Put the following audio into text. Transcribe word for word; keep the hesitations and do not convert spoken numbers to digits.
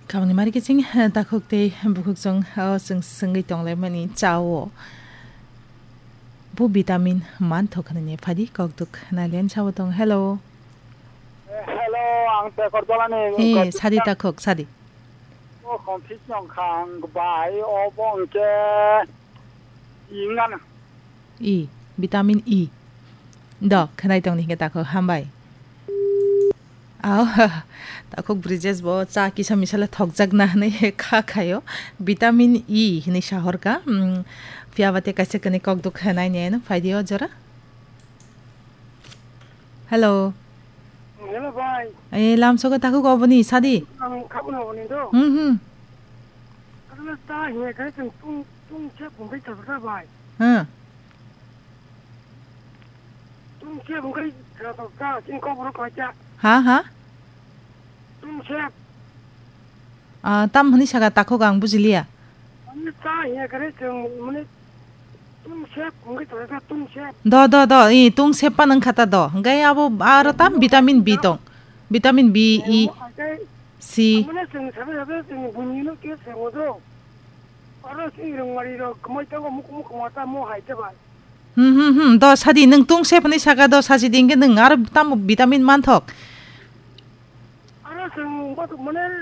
Kamni mari kiching, takhuk tei bukhuk chwng, o, chwng swngwi tonglaimani chao. Bo vitamin manthok hwnwi phadi kokduk nailen chao tong. Hello. Eh, hello, ang Shekhar Dolani. Eh, sadi takhuk, sadi. O, confuse nong khang bai, o, bo hwnkhe I ngano. E, vitamin E. Do, khwnai tongni hingke takhuk hambai. Aw, takhuk Brijesh bo cha kisa misala thokjakna hwnwi kha khaio. Vitamin E hwnwi sahorka. Mm, phiya ba te kaisa kani kok duk khanai ne, no, phaidi o jora. Hello. Hello, bai. Eh, lamsogo takhuk oboni sadi. Ang khabuna oboni do. Hmm, hmm. Asle ta hiya khe chwng tung, tung se phungbai thangsa bai. Hmm. Tung se phungbai thangsa, chini kok borok kaisa. Ha, ha? Tung se. Ah, tam hwnwi saka takhuk ang bujiliya. Mane ta hiya khe chwng mane tung se phungbai thangsa, tung se. Do, do, do, i tung se pa nang khata do. Hingke abo aro tam vitamin B tong. Vitamin B, E, C. Mane chwng sabe sabe chwng buini no ke se modo. Aro se rwngmari rok kwmai tongo, muk muk kwma ta mo hai te bai. Hmm, hmm, hmm. Do sadi nwng tung se phani saka do sasi dingke nwng aro tamo vitamin manthok. Aro chwng bathuk mane